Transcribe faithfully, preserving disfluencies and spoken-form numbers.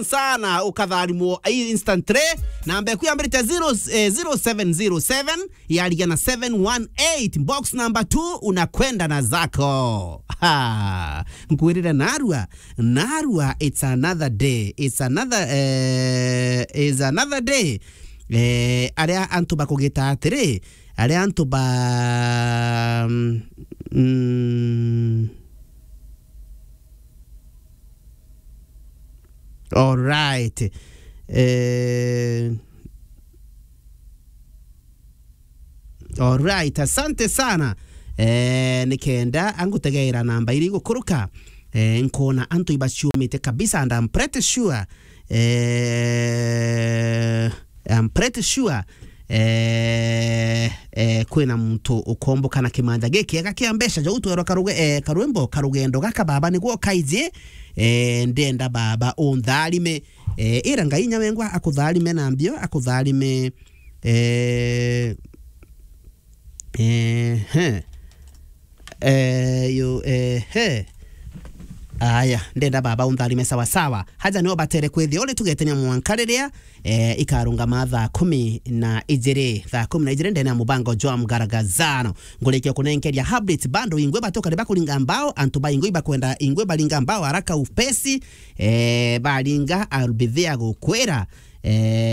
sana, ukatharimwo instantly. Namba eku yambirite zero, eh, zero seven zero seven, yarigia na seven one eight. Box number two, unakwenda na zako. Ha, nkwirire narua, narua, it's another day, it's another, eh, it's another day. Eh, aria antu bakugita atiri, aria antu ba, mm, all right. Eh, all right, asante sana. Eh, nikenda angutegeera namba iri gukuruka. Eh, nkona antu ibaciumite kabisa, and I'm pretty sure, eh, I'm pretty sure, eh, eh, kwina muntu ukomboka na kimanja gikiega kia mbeca. Jou twerwa karuge-, eh, karwimbo, karugendo gaka baba niguo kaiji. Eh, ndenda baba untharime. Eh, ira Ngai inya wengwa akutharime na mbio, akutharime. Eh, eh, he. Eh, yo, eh, he. Aya, ndenda baba untharime sawa sawa. Haja nio batere kwithia uri tugetenia mwanka riria, eh, ikarungama thaa kumi na ijiri, thaa kumi na ijiri ndene ya mubango jwa Mgaragazano. Ngurikia kunenkeria update bando ingwe batoka riba kuringa mbao, antu ba ingwe ibakwenda ingwe baringa mbao haraka upesi, eh, baringa, I'll be there gukwira, eh,